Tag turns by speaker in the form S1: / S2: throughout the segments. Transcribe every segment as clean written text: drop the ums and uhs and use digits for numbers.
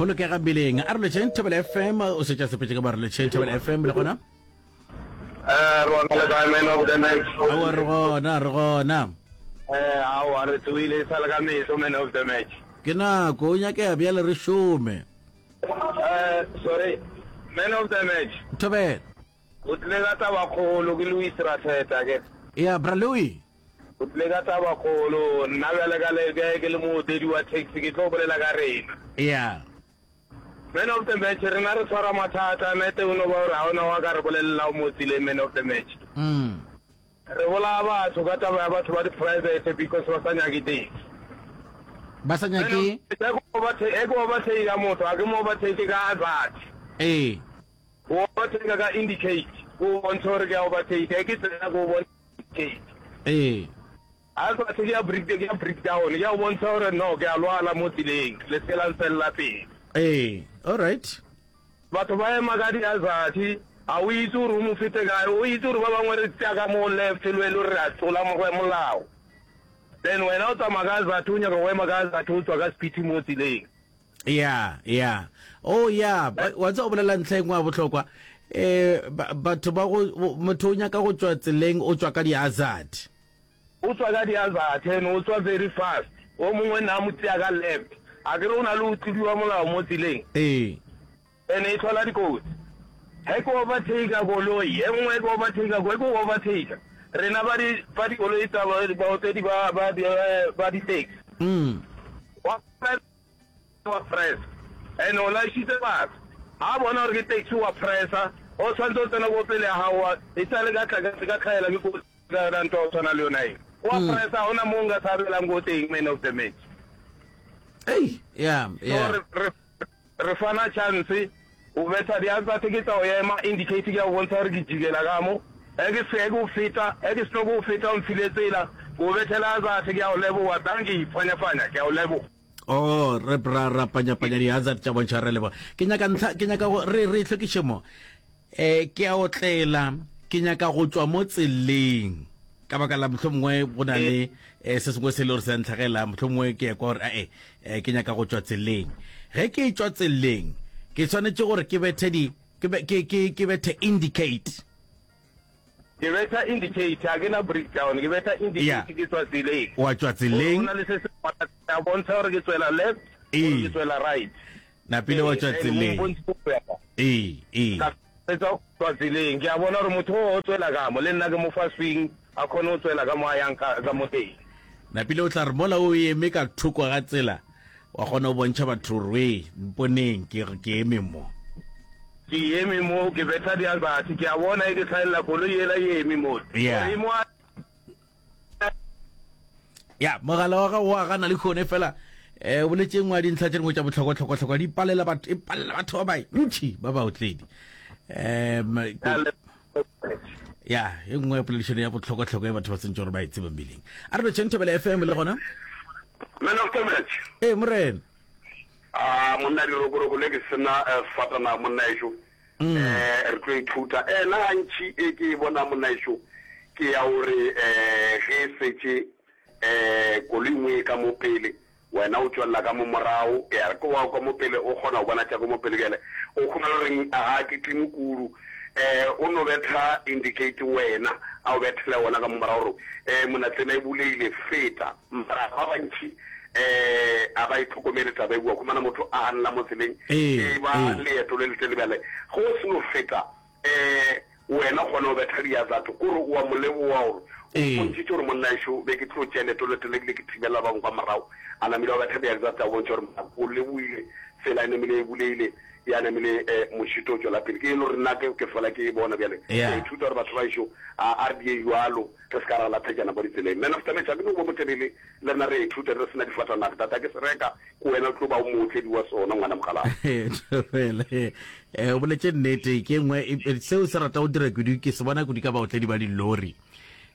S1: Bolokega mmeleng. A re lotšheng Thobela FM, o šetše a sepetše ka ba re lotšheng Thobela FM le gona.
S2: Eh, re gona le kae man of the match?
S1: Aowa re gona, re gona.
S2: Eh, aowa re tsoile e sa le ka meso man of the match.
S1: Ke nako, o nyakega bjale re šome.
S2: Eh, sorry, man of the match.
S1: Thobela.
S2: O tlile ka tabakgolo ke Louis Ratheta ke.
S1: Ya, bra Louis.
S2: O tlile ka tabakgolo, nna bjale ka le bjale ke le mootledi wa taxi ke tlo bolela ka rena.
S1: Ya.
S2: Man of the match, rena re tshwara mathata, nete o no ba gore ga ona wa ka re bolelelang mo tseleng man of the match.
S1: Mm.
S2: Re bolaya batho ka taba ya batho ba di private because ba sa nyake taxi.
S1: Ba sa nyake?
S2: E ke overtake motho, ga ke mo overtake ka hazard.
S1: Ee.
S2: O overtake ka indicate, o bontshe gore ke a overtake, e ke tsena ke o bontsha indicate.
S1: Ee.
S2: Hazard ke ya break, ke ya breakdown, ke ya go bontsha gore no ke a lwala mo tseleng, le se la ntswelela pele.
S1: Ee, all right.
S2: Batho ba ema ka di-hazard, ga o itse gore o mo fete kae, o itse gore ba bangwe re tšea ka mo left le wena o re re a tlola molao. Then wena o tsamaya ka hazard, o nyaka go ema ka hazard o tswa ka speed mo tseleng.
S1: Ya, ya. Oh, ya. Wa tseba o bolela ntlha e nngwe ya bohlokwa. Eh, batho ba go, motho o nyaka go tšwa tseleng, o tšwa ka di-hazard.
S2: O tswa ka di-hazard and o tswa very fast. O mongwe nna a mo tšea ka left. Akere o na le go tlodiwa molao mo tseleng.
S1: Ee.
S2: And e hlola dikotsi. Ge ke overtaker koloi e nngwe, ke overtaker koloi, ke overtaker. Rena ba di, ba dikoloi tsa baotledi ba, ba, ba di-taxi.
S1: Mm.
S2: Wa wa pressa. And o laišitse batho. Ga a bona gore ke taxi wa pressa, o tshwanetse o tsena ko pele ya gago wa, e sale ka tla ka tlhaela ke kotsi ka yona ntho ya go tshwana le yona e. Wa
S1: Mm.
S2: pressa, ga gona mo nka tshabelang ko teng man of the match.
S1: Ei, yeah,
S2: So
S1: yeah.
S2: re, re Re fana chance, o betha diatla tse ke tsa go ema, indicate ke ya go bontsha gore ke jikela ka mo. Ge ke se ke o feta, ge ke seno ke o feta o mfile tsela, ke o bethela hazard ke ya go leboga, dankie, fanya-fanya, ke ya go leboga.
S1: Oh, re ra ra panya-panya di-hazard tša bontšha re leboga. Ke nyaka ntlha, ke nyaka go re re hlwekiše mo. Eh, ke a otlela, ke nyaka go tšwa mo tseleng. Ka baka la mohlomongwe go na le eh, se sengwe se le gore se a ntlhagela, mohlomongwe ke ekwa gore ae, eh, ke nyaka go tšwa tseleng. Ge ke tšwa tseleng, ke swanetše gore ke bethe di, ke, ke, ke, ke bethe indicate.
S2: Ke betha indicate, ga ke na breakdown, ke betha
S1: Yeah.
S2: indicate ke tswa tseleng.
S1: Wa tšwa
S2: Gore
S1: tseleng.
S2: go na le se sengwe a bontsha gore ke tswela left
S1: Ee.
S2: gore ke tswela right.
S1: Napile wa tšwa
S2: Ee, and
S1: tseleng.
S2: o mpontshitse go ya kae.
S1: Ee, ee.
S2: Ka fetsa go tswa tseleng, ke a bona gore motho o o tswela ka mo, le nna ke mo fa swing, a kgone go tswela ka mo a yang ka, ka mo teng.
S1: Napile o tla re mola o eme ka thoko ga tsela, wa kgona go bontšha batho gore wee, mponeng, ke, ke eme mo.
S2: Ke eme mo, ke betha dialbathi, ke a bona e ke hlaelela koloi yela e eme mo.
S1: Yeah.
S2: Gore e mo a.
S1: Ya, mogala wa gago wa gana le kgone fela eh o boletše nngwe ya dintlha tše dingwe tša bohlokwa-hlokwa-hlokwa di palela batho e palela batho ba bantši ba baotledi um ya e nngwe ya poledišano ya bohlokwa-hlokwa e batho ba sentse gore ba e tsebe mmeleng a re lotšheng thobela fm le gona
S3: Man of the match.
S1: ee morena
S3: A monna dirokoroko le ke sena eh, sefatanaga monna ešo.
S1: Mm.
S3: Eh re tlo ithuta. Eh nna gantši e ke e bona monna ešo ke ya gore eh ge e setše eh koloi nngwe e ka mo pele wena o tšwelela ka mo morago ya re ke wa ka mo pele o kgona go bona tša ka mo pele bjale o khumana goreng ga ke tlime kudu eh o no betha indicate wena a o bethele wona ka mo morago gore eh mona tsela e buleile feta Mara ba bantši um a ba itlhokomele taba e bua khumana motho a ganela mo tseleng
S1: Ee,
S3: e ba
S1: ee.
S3: leeto le letelele bjale ge o seno feta um wena o kgona go betha diazatho kore o a mo leboga gore o
S1: Ee.
S3: mpontšhitše gore monna ešo be ke tlo tšea leeto le letelele ebile ke thibela ba bangwe kwa morago a namile wa betha diazatho a bontšha gore monna o leboile tsela e namile e buleile ya namile um mošito o tšwela pele ke e le gore nna ke ke fela ke e bona bjale ke a
S1: Yeah.
S3: ithuta gore batho ba ešo a a re die jwalo Re se ka ra lathejana mo ditseleng. Man of the match, a ke no ba motelele, le rena re a ithuta, re se na difatanaga. Tata ke se reka, ke wena o tlo ba o mootledi wa sona, ngwana mokgalabje.
S1: Thobela, eh, o boletše nnete, ke nngwe, e, e, seo se rata go dira kudu, ke se bona kudu ka baotledi ba dilori,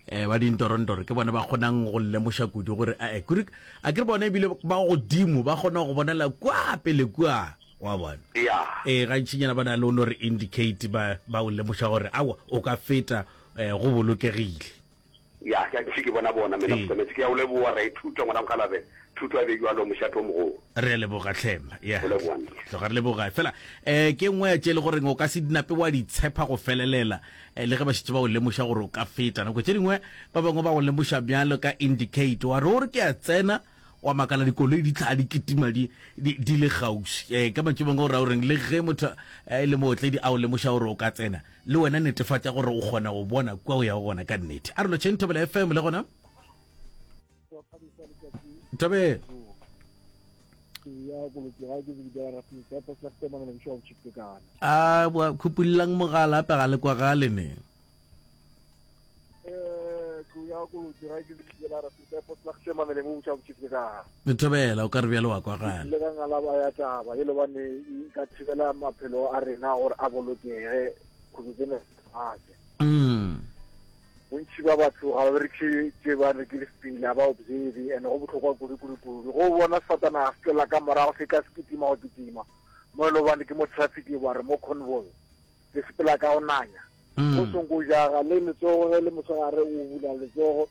S1: eh, ba dintorontoro, ke bona ba kgonang go lemoša kudu gore, eh, kudu, a ke re bona ebile ba godimo, ba kgona go bonela kua pele kua, wa bona.
S3: Ya.
S1: Eh, gantšinyana ba na le o no re indicate, ba, ba o lemoša gore, aowa, o ka feta, Eh, go bolokegile.
S3: Ya, ke. Gantši ke bona bona, Man of the Match. Ke a o leboga, ra ithuta, ngwana mokgalabje. Thuto a be bjalo, mošate o mogolo.
S1: Re a leboga hle. Ya.
S3: Go leboga nna.
S1: Tloga re leboga. Fela eh ke nngwe ya tše le goreng o ka se dinape wa di tshepa go felelela eh, le ge ba šetše ba o lemoša gore o ka feta. Nako tše dingwe ba bangwe ba go lemoša bjalo ka indicate wa re o re ke a tsena wa makala dikoloi di tla di kitima di di, di le kgauswi. Eh ka mantšu mangwe o ra o reng le ge motho eh, e le mootledi a o lemoša gore o ka tsena le wena netefatša gore o kgona go bona kua o yago gona ka nnete. A re lotšheng Thobela FM le gona. Thabela. A boa khupullang mogala ape ga le kwagale ne. Thobela o ka re bjale wa kwagala.
S4: Le ka ngalaba ya taba e le bane e ka thibela maphelo a rena gore a bolokege go tsene fatshe.
S1: Mm.
S4: Bontši ba batho ga ba berekiše tše ba re ke lefpile, ga ba observe, and go bohlokwa kudu kudu kudu. Go bona sefatanaga se tšwela ka morago se tla se kitima go kitima, mo e le gobane ke mo traffic ba re mo convoy, se sepela ka go nanya. Go songo jaga le letsogo ge le mosegare o bula letsogo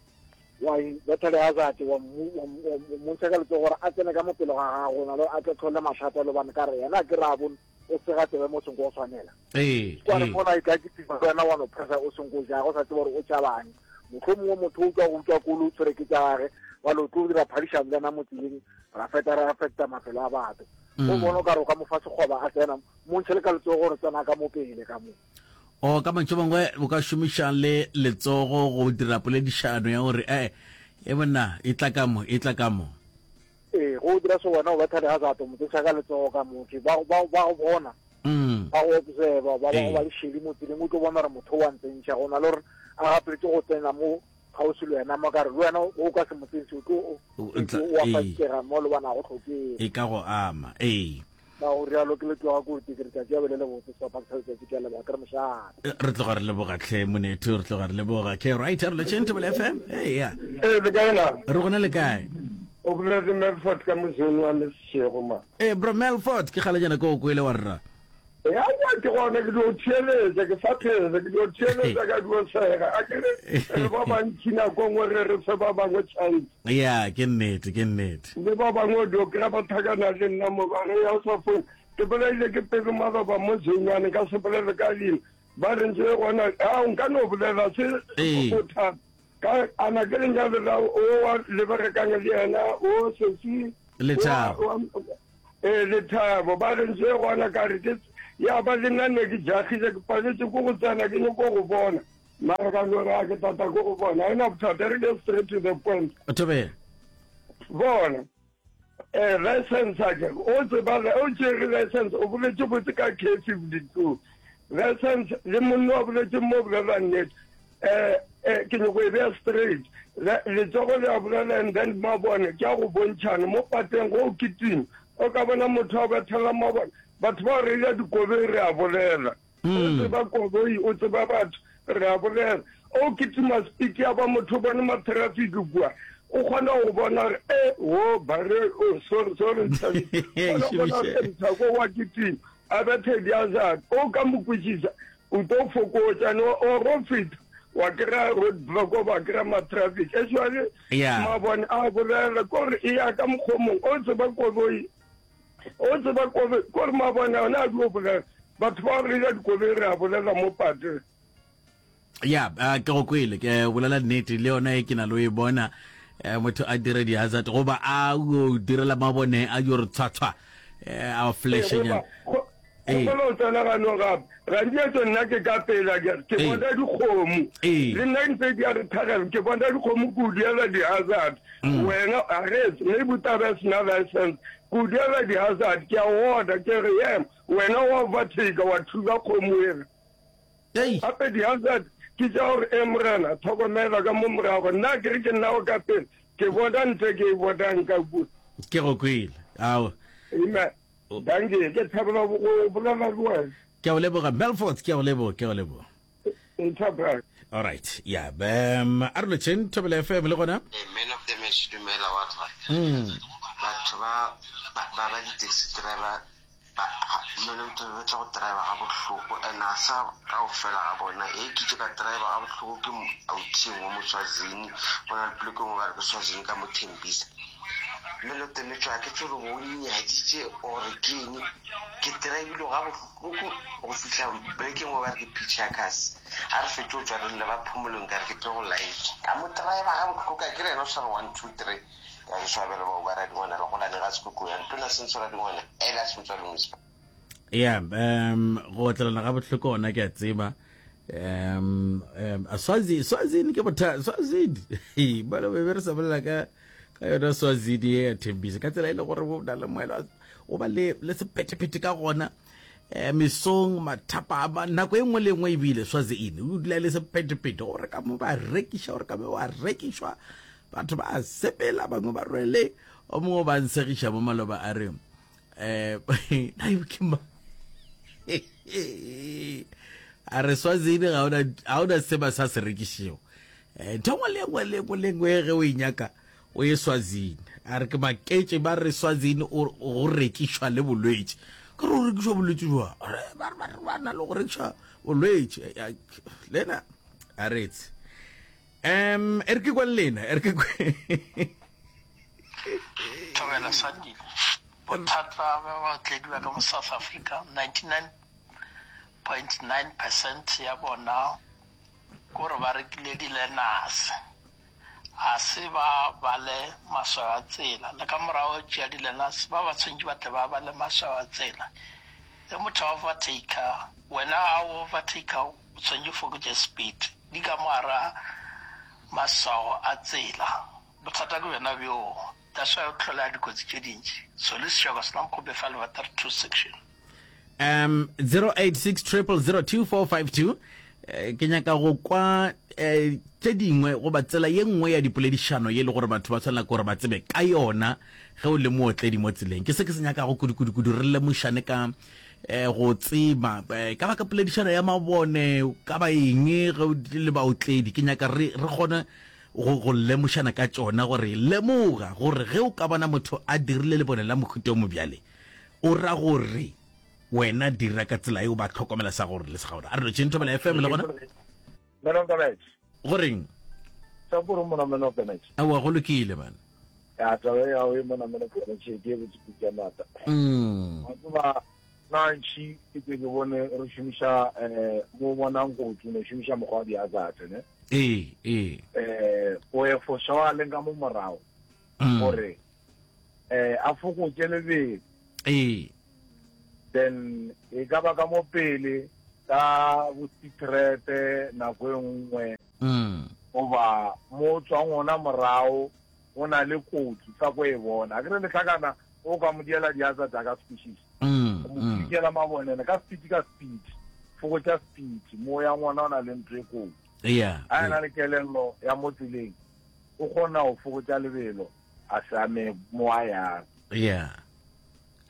S4: wa betha le hazard wa mmontšha ka letsogo gore a tsene ka mo pele ga gago na le a tlo tlhole mathata le bane ka re yena ke re a bone o sega tsebe mo seng go tshwanela
S1: ee
S4: kwa re
S1: ee.
S4: mona e ka ke tima wena wa no pressa o seng go ja go sa tseba gore o tšabang motlho mongwe motho o tswa go utswa kolo o tshwere ke tša gage wa lo tlo dira phadišano le yena mo tseleng ra feta ra feta mafelo a batho o
S1: Mm.
S4: bona o ka re o ka mo fa sekgoba a tsena mo ntshe le ka letsogo gore tsena ka mo pele ka mo
S1: o ka mantšu a mangwe o ka šomiša le letsogo go dira poledišano ya gore ee e monna e tla ka mo e tla ka mo
S4: Ee, go o dira so wena o betha di-hazard, o mo tseša ka letsogo ka mo ke ba ba ba go bona
S1: Mm.
S4: ba go observe ba ba
S1: Ee.
S4: go ba le šedi mo tseleng o tlo bona gore motho wa ntsentšha go na le gore a gapeletše go tsena mo kgauswi le wena mo ka re le wena o ka se mo tsentšhe o tlo
S1: O- o tla-
S4: o a
S1: ee.
S4: fakega mo le bona go hlokege
S1: E ka go ama. Ee.
S4: Ka go rialo ke letloga koti ke re tšatši ya be le lebotse sehlopha sa letšatši ke a leboga ke re mošate.
S1: Re tloga re leboga hle monetho re tloga re leboga ke right re lotšheng Thobela FM hey ya
S2: Ee, le kae na?
S1: re gona le kae
S2: O bolela le Melford ka mozone wa Lesešego ma.
S1: ee bro Melford ke kgale jana ke o kwele wa rra
S2: Ya ya ke gona ke dio theeletša ke sa phela ke dio theeletša ka dio sega a ke re re ba bantši nako nngwe re re fe ba bangwe chance
S1: ya ke nnete ke nnete
S2: le ba bangwe o dio kry-a ba thakana le nna mo ba re ya o sa phone ke bolaile ke pelo maloba mo zenyane ka se bolele ka leina ba re ntse gona a nka no bolela se
S1: Ee.
S2: bothata ka ana ke lenyalo la o wa le berekang le yena o sesi
S1: Lethabo.
S2: Ee, Lethabo, ba re ntse gona ka re ke ya ba le nna ne ke jagile ke paletse ko go tsena ke nyako go bona mara ka no re a ke tata ko go bona ena bothata re get straight to the point
S1: Thobela.
S2: bona eh license a ke o tseba o tšere license o boletše botse ka K 52 license le monna wa boletše mo bolela nnete Eh, eh, ke nyoko e beya straight. Le, letsogo le a bolela and then mabone ke a go bontšhana mo pateng go o kitima. O ka bona motho a bethela mabone. Batho ba reila dikoloi re a bolela. O mm. tseba koloi, o tseba batho, re a bolela. O kitima speed ya ba motho o bone ma-traffic kua. O kgona go bona gore e wo bare oh, sorry sorry kgona go bona gore mthako wa kitima a bethe di-hazard o ka mo kwešiša O tlo fokotša no o ro feta wa kry-a road block wa kry-a ma-traffic actually
S1: Yeah.
S2: mabone a bolela kore e ya ka mokgwa o mongwe o tseba koloi o tseba koloi kore mabone one a dio bolela batho ba reila dikoloi re a bolela mo pateng
S1: ya uh, ke go kwele ke bolela nnete le yona e ke na le o e bona eh, motho a dire di-hazard goba a o direla mabone a dio re tshwatshwa eh, a flashenyana
S2: Ee. Kgopela o tsena ganong gape. Gantši nna ke ka pela ke ke
S1: Ee.
S2: bona dikgomo.
S1: Ee.
S2: Le nna ntse di a re tlhagela ke bona dikgomo ke o diela di-hazard.
S1: Mm.
S2: Wena a re maybe taba e sena license. Ke o diela di-hazard ke a order ke re ema wena wa overtake wa thula kgomo ela.
S1: Ei.
S2: Gape di-hazard ke tša gore e morena tlhokomela ka mo morago nna ke re ke nna o ka pele ke bona ntse ke e bonang ka kua.
S1: Ke go kwele. Ao.
S2: Amen. Dankie, ke thabela go bolela le wena.
S1: Ke a o leboga Melfort, ke a o leboga, ke a o leboga.
S2: Nthabra.
S1: All right, yeah, um, a re lotšheng Thobela FM le gona.
S5: Hey, man of the match dumela wa tla.
S1: Mm.
S5: Batho ba ba ba ba di-taxi driver. Ba, mmele o tla tla go driver ga bohloko and a sa kaofela ga bona. E ke itše ka driver ga bohloko ke authi engwe mo Swazini, go na le poleke engwe ba re ke Swazini ka mo Thembisa. Mmele o temetšwe ga ke tsebe go nyaditše or ke eng, ke drivile ga bohloko go fihla poleke engwe ba re ke Pichakas. A re fetše go tšwa re lle ba phomolong ka re ke tlo go laetša. Ka mo driver ga bohloko ka ke re yena o sa re one two three. Ka ke swabela bao ba radingwana le golane ga sekoko ya ntona sentso radingwana ela sentso le mospa.
S1: Yeah, um go otlelana ga bohloko ona ke a tseba. Um um Swazi Swazini ke botha Swazini. Bana be re sa bolela ka ka yona Swazini ye ya Thembisa ka tsela e le gore o na le moela o ba le le sephethephethe ka gona. Eh, mesong mathapama nako e nngwe le nngwe ebile Swazini o dula e le sephethephethe gore ka mo ba rekiša gore ka mo ba rekišwa Batho ba a sepela, bangwe ba rwele, o mongwe ba nsegiša mo maloba a re, eh, na ke ma a re Swazini ga ona ga ona se ba sa se rekišego. Eh, ntho engwe le engwe le engwe le engwe ge o e nyaka o ye Swazini. A re ke maketše ba re Swazini o go rekišwa le bolwetši. Ke re o rekišwa bolwetši jwa? Re ba ba ba na le go rekišwa bolwetši. Lena a re tse. Um, e re ke kwa le lena, e re ke kwe.
S6: Thobela Sandile. Bothata bja baotledi ba ka mo South Africa, 99.9 percent ya bona ke gore ba rekile di-learners. Ga se ba bale maswao a tsela. Le ka morago go tšea di-learners, ba ba tshwanetše ba tle ba bale maswao a tsela. Ge motho a overtaker, wena ga o overtaker o tshwanetše o fokotše speed. Di ka mo gara maswao a tsela. Bothata ke bjona bjoo. That's why o hlola dikotsi tše dintši. So le sešoko sena mokgope fa leba 32 section.
S1: Um 086 0002452 eh, ke nyaka go kwa eh, tše dingwe goba tsela ye nngwe ya dipoledišano ye le gore batho ba tshwanela ke gore ba tsebe ka yona ge o le mootledi mo tseleng. Ke se ke se nyakago kudu-kudu-kudu re lemošane ka eh, go tseba eh, ka baka poledišano ya mabone ka ba eng ge o le baotledi ke nyaka re re kgone go go lemošana ka tšona gore lemoga gore ge o ka bona motho a dirile lebone la mohuta o mobjale o ra gore wena dira ka tsela eo ba tlhokomela sa gore le sa gore a re lotšheng thobela fm le gona
S4: Man of the match.
S1: Goreng?
S4: Sa kore mona man of the match.
S1: Aowa go lokile man.
S4: Ya taba ya o mona man of the match ke e botse kudu mata.
S1: Mm.
S4: Wa tseba na ntši ke ke ke bone re šomiša eh mo bonang kotsi no šomiša mokgwa wa di-hazard ne.
S1: Ee, ee.
S4: Eh o e foša wa leng ka mo morago.
S1: Mm.
S4: Gore eh a fokotše lebelo.
S1: Ee.
S4: Then e ka ba ka mo pele ka bo secret nako e nngwe
S1: mm.
S4: goba mo tswang ona morago go na le kotsi sa ko e bona a ke re letlhakana o ka mo diela diatsa tsa ka species
S1: mm,
S4: o mo
S1: mm.
S4: fikela mabonene ka speed ka speed fokotša speed mo ya ngwana o na le ntho e kotsi
S1: yeah
S4: a ena le kelello ya mo tseleng o kgona go fokotša lebelo a se ame mo a yang
S1: yeah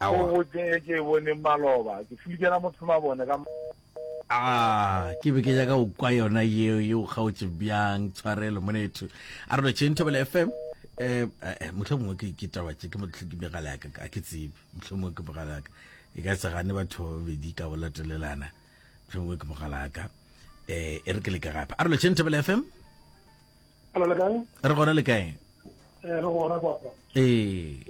S4: Awa. Go botse ke e boneng maloba, ke fulikela motho mabone ka
S1: Ah, ke be ke nyaka go kwa yona yeo yeo kgaotše bjang tshwarelo monetho a re lotšheng thobela fm eh, eh motlho mongwe ke ke taba tše ke motlho ke megala ya ka a ke tsebe motlho mongwe ke mogala ya ka e ka se gane batho ba babedi ka go latelelana motlho mongwe ke mogala ya ka eh e re ke leke gape a re lotšheng thobela fm
S7: Hello, le kae?
S1: Re gona le kae?
S7: Eh, re gona kwa.
S1: Ee.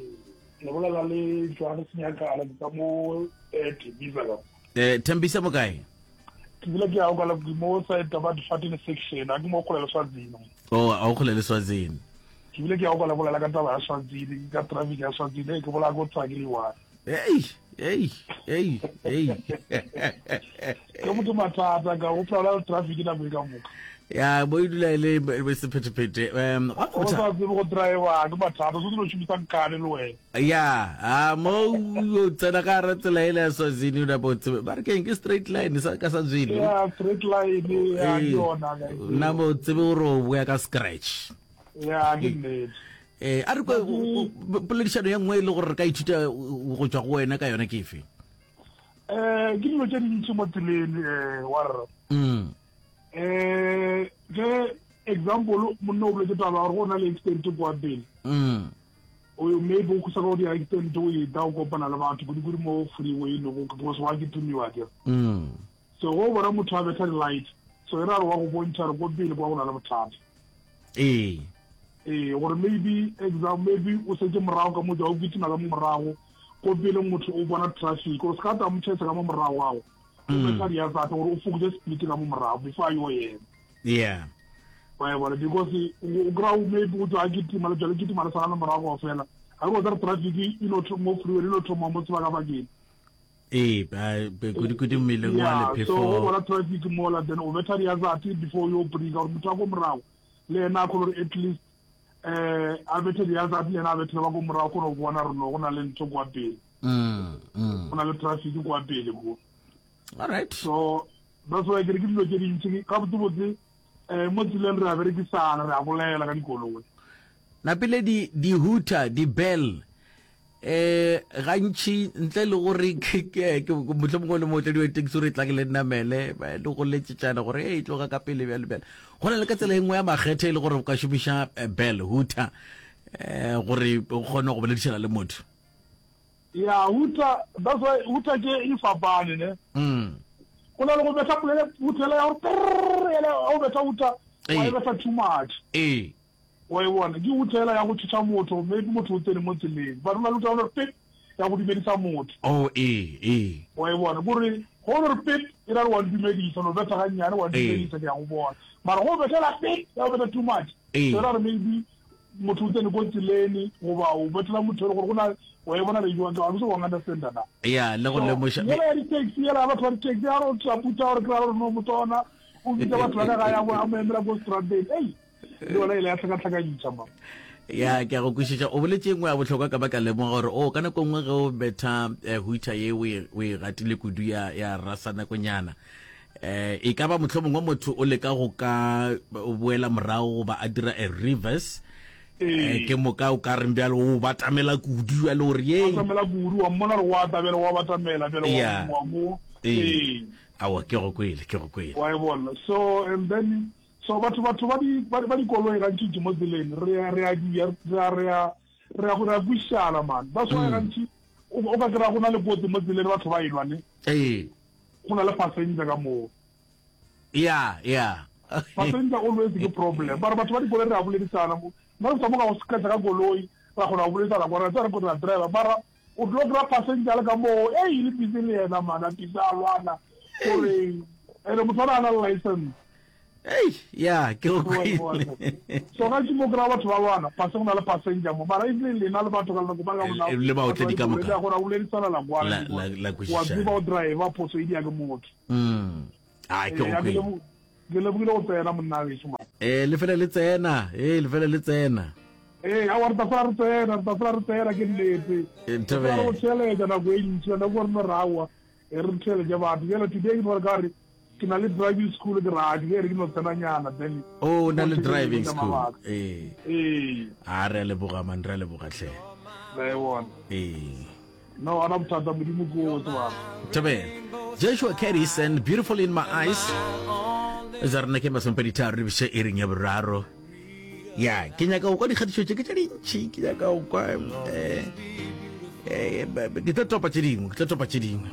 S7: Le bolela le Johannes Nyakala ke ka mo eh, Tembisa ka.
S1: Eh, Tembisa mo kae?
S7: Ke bile ke ya go la mo side ba Difatene section, a ke mo kgole le Swazini.
S1: Oh, a o kgole le Swazini.
S7: Ke bile ke ya go la bolela ka taba ya Swazini, ka traffic ya Swazini, ke bola go tswa ke le one.
S1: Hey, hey, hey, hey.
S7: Ke motho mathata ka go phela traffic nako e ka moka.
S1: Ya bo e dula e le e sephetephete. Um
S7: o sa tsebe go driver ke mathata, so selo šomisa nkane le wena.
S1: Ya, a mo o tsena ka gare tsela ele ya Swazini o napa o tsebe. Ba re keng ke straight line sa ka Swazini.
S7: Ya straight line ya ke yona.
S1: Nna mo tsebe gore o boya ka scratch.
S7: Ya ke nnete.
S1: Eh, a re kwe poledišano ya nngwe e le gore re ka ithuta go tšwa go wena ka yona ke efe?
S7: Eh, ke dilo tše dintši mo tseleng eh wa rra.
S1: Mm.
S7: Eh, ge example monna o boletse taba gore go na le accident kwa pele.
S1: Mm.
S7: O maybe o khusa ka go di-accident o eta o kopana le batho kudu-kudu mo freeway no go because wa kitimiwa akere.
S1: Mm.
S7: So go bona motho a betha di-light so e ra re wa go bontšha re ko pele kwa go na le bothata.
S1: Ee.
S7: Ee, gore maybe exam maybe o setse morago ka motho o kitima ka mo morago ko pele motho o bona traffic gore se ka ta mo tšhaisa ka mo morago gago o mm. betha di-hazard gore o fokotse speed ka mo morago before a yo yena.
S1: Yeah.
S7: Wa e bona because o kry-a maybe o tswa a kitima le tswa le kitima le sala le morago kao fela ga ke tsare traffic e no mo freeway e no thoma mo sebakabakeng.
S1: Ee, kudu-kudu mmileng wa lephefo.
S7: So o bona traffic mola then o betha di-hazard before yo brika gore motho wa ko morago le yena a kgone gore at least um a bethe di-hazard le yena a bethele ba ko morago kgone go bona re no go na le ntho kwa pele.
S1: Mm, mm.
S7: Go na le traffic kwa pele ko.
S1: All right.
S7: So that's why ke re ke dilo tše dintši gabotsebotse um mo tseleng re a berekisana re a bolela ka dikoloi.
S1: Napile di di hooter di bell eh gantši ntle le gore ke mohlomongwe le mootledi wa taxi gore e tla ke le namele le go letšetšana gore e tloga ka pele bjale bjale go na le ka tsela e nngwe ya makgethe e le gore o ka šomiša eh, bell hooter eh gore o kgone go boledišana le motho
S7: Ya hooter that's why hooter ke e fapane ne.
S1: Mm.
S7: Go na le go betha polele hooter ya gore ele o betha hooter wa e betha too much.
S1: Ee.
S7: Wa e bona ke hooter ya go tšhoša motho maybe motho o tsene mo tseleng but go na le hooter ya gore pip ya go dumedisa motho.
S1: Oh ee ee.
S7: Wa e bona gore go re pip e ra re wa dumedisa no betha ga nnyane wa dumedisa ke ya go bona mara go bethela pip ya go betha too much.
S1: Ee.
S7: So ra re maybe motho o tsene ko tseleni goba o bethela motho e le gore go na wa e bona le jwang ka se wa understand na
S1: ya le go lemoša
S7: yela ya di-taxi yela batho ba di-taxi ya re o tla putsa gore kry-a gore no motho ona o bitsa batho ba ka ga ya a mo emela ko strateng ei le yona ile ya tlhakatlhakantšha ma
S1: ya ke a go kwešiša o boletše nngwe ya bohlokwa ka baka lemoga gore o ka nako nngwe ge o betha eh, hooter ye o e, o e ratile kudu ya ya rasa nakonyana eh e ka ba mohlomongwe motho o leka go ka boela morago goba a dira a reverse eh ke moka o ka reng bjalo o batamela kudu bjalo gore ye
S7: batamela kudu wa mmona gore wa tabela wa batamela bjalo wa mo
S1: ee awa ke go kwele ke go kwele
S7: wa e bona so and then so batho batho ba di ba dikoloi gantši mo tseleng re a re a di re a re a re a go re a kwišana man that's why mm. gantši o ka kry-a go na le kotsi mo tseleng batho ba elwa ne
S1: ee
S7: Go na le passenger ka moo.
S1: Ya, ya.
S7: Passenger always ke problem. Mara batho ba dikoloi re a boledisana mo. Nna re mo ka go scratch ka koloi, ra kgona go boledisana kwa ra tswa re kgona driver. Mara o tlo kry passenger le ka moo, ei le busy le yena man, a busy a lwana. Gore ene motho a na le license.
S1: Ei, ya, ke go kwele.
S7: So ga ke mo kry batho ba lwana, pase go na le passenger mo. Mara if le lena le batho ka lena ba ka bona.
S1: Le baotledi ka moka.
S7: Le gora o ledisana la kwana.
S1: La la
S7: kwešiša. Wa tseba o driver phoso e dia ke motho.
S1: Mm. Ah, ke go kwele.
S7: Ke lebogile go tsena monna weso man.
S1: Eh, le fele le tsena. Eh, le fele le tsena.
S7: Eh, a wa re tla fela re tsena, re tla fela re tsena ke nnete.
S1: Ntebe.
S7: Re go tsheletsa nako e ntsi, nako re no rawa. E re theeletše batho. Bjale today ke no re ka re ke na le driving school ke ra ke re ke no tsenanyana then.
S1: Oh, o na le driving school. Ee.
S7: Ee.
S1: A re a leboga man, re a leboga hle.
S7: La e bona.
S1: Ee.
S7: No, ana bothata modimo ke o tsebang.
S1: Thobela. Joshua Cadis and Beautiful in My Eyes. Za rena ke masomepedi tharo le biše iring ya boraro. Ya, ke nyaka go kwa dikgatišo tše ke tše dintši, ke nyaka go kwa eh eh ke tlo topa tše dingwe, ke tlo topa tše dingwe.